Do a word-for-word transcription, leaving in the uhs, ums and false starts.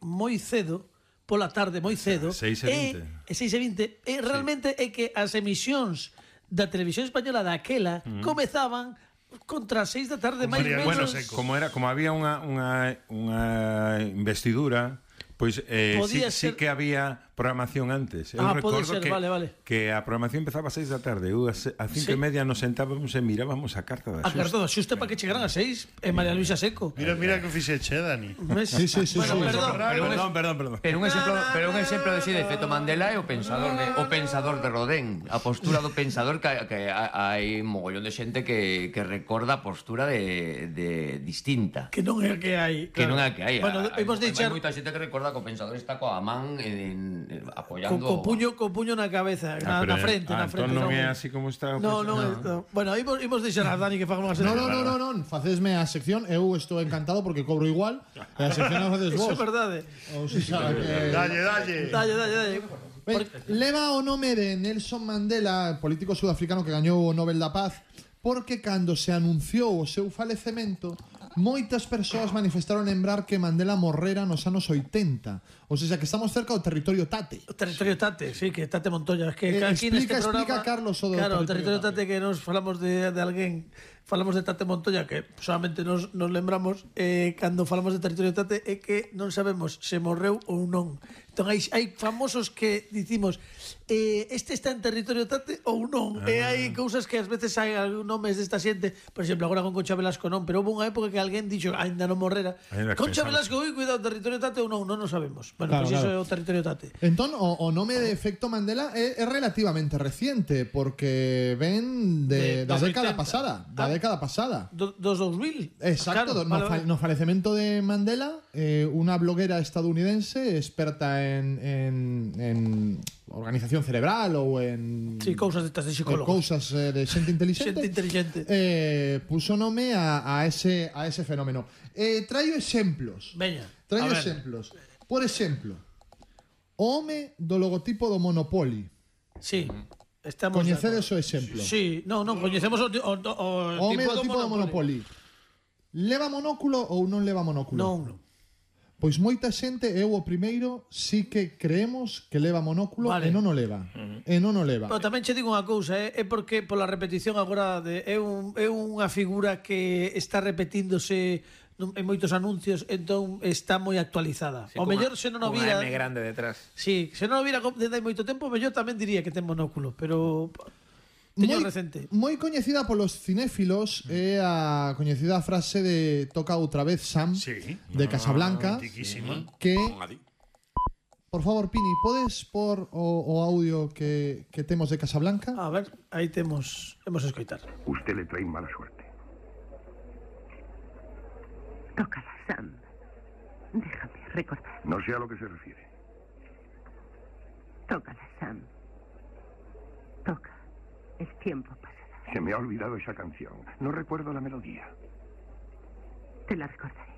moi cedo, pola tarde moi cedo, seis e vinte. E seis e vinte, e realmente é que as emisións da televisión española daquela comezaban contra as seis da tarde máis María menos. Luisa Seco. Como era, como había unha unha unha investidura, pois eh, sí, Podía sí ser- que había programación antes. Eu Ah, pode recordo ser, que, vale, vale. que a programación empezaba a seis da tarde. Eu a se- a cinco Sí. e media nos sentábamos e mirábamos a carta da A carta da xusta para que chegaran a seis e María Luisa Seco. Mira, mira que fixeche, Dani. ¿Ves? Sí, sí, sí, Bueno, sí. perdón. Perdón, perdón, perdón. Pero un exemplo, pero un exemplo de si de efecto Mandela é o pensador de o pensador de Rodin, a postura do pensador que, que hai mogollón de xente que, que recorda a postura de, de distinta. Que non é a que hai. Que claro. non é a que hai. Bueno, hai, hemos hai deixar moita xente que recorda que o pensador está coa man en, en, co, apoiando co puño, co puño na cabeza, na, Ah, pero, na frente, ah, na frente. entón non é así como está. o No, pensador. non é isto. Bueno, imos, imos deixar a Dani que faga unha No, no, no, no, no, facesme a sección. Eu estou encantado porque cobro igual. E a sección a faces Iso é vos. verdade. O sea, que... Dalle, dalle. Dalle, dalle, dalle. Ben, leva o nome de Nelson Mandela, político sudafricano que gañou o Nobel da Paz, porque cando se anunciou o seu falecemento, moitas persoas manifestaron lembrar que Mandela morrera nos anos oitenta. Ou seja, que estamos cerca do territorio Tate. O territorio Tate, sí, que Tate Montoya. Que Eh, aquí explica- neste programa, explica, Carlos, o do claro, o territorio territorio Tate, que nos falamos de, de alguén, falamos de Tate Montoya, que solamente nos, nos lembramos, eh, cando falamos de territorio Tate, é que non sabemos se morreu ou non. Entón, hai, hai famosos que dicimos eh, este está en territorio Tate ou non. Ah. E hai cousas que ás veces hai algún nomes desta xente, por exemplo, agora con Concha Velasco non, pero houve unha época que alguén dixo, ainda non morrera. Ainda Concha pensamos. Velasco, ui, cuidado, territorio Tate ou non, non o sabemos. Bueno, Claro, pois pues claro. iso é o territorio Tate. Entón, o, o nome de efecto Mandela é, é relativamente reciente, porque ven de, De- da dos década oitenta. pasada. Da Ah. década pasada. Do, dos dous mil. Exacto, Claro, do- vale, no, fa- vale. no falecemento de Mandela, eh, unha bloguera estadounidense experta en, en, en organización cerebral ou en Sí, cousas destas de eh, psicólogos. cousas eh, de xente inteligente, Xente inteligente. eh, puso nome a, a, ese, a ese fenómeno. Eh, traio exemplos. Veña. Traio a ver. exemplos. Por exemplo, o home do logotipo do Monopoly. Sí. Estamos Coñecedes de o exemplo? Sí, non, non, coñecemos o, o, o, O home do tipo do Monopoly. Leva monóculo ou non leva monóculo? Non. Pois moita xente, eu o primeiro, sí que creemos que leva monóculo Vale. e non o leva. E non o leva. Pero tamén che digo unha cousa, eh? É porque pola repetición agora de, é, un, é unha figura que está repetíndose nun- en moitos anuncios, entón está moi actualizada. Sí, o cunha- mellor se non o cunha vira. M grande detrás. Sí, se non o vira co- desde hai moito tempo, mellor tamén diría que ten monóculo, pero teño moi, recente. moi coñecida polos cinéfilos é a coñecida frase de Toca outra vez Sam, Sí. de Casablanca, Antiquísima. que por favor, Pini, podes por o, o audio que, que temos de Casablanca? A ver, aí temos, hemos escoitar. Usted le trae mala suerte. Tócala, Sam. Déjame recordar. No sé a lo que se refiere. Tócala, Sam. Toca. El tiempo pasará. Se me ha olvidado esa canción. No recuerdo la melodía. Te la recordaré.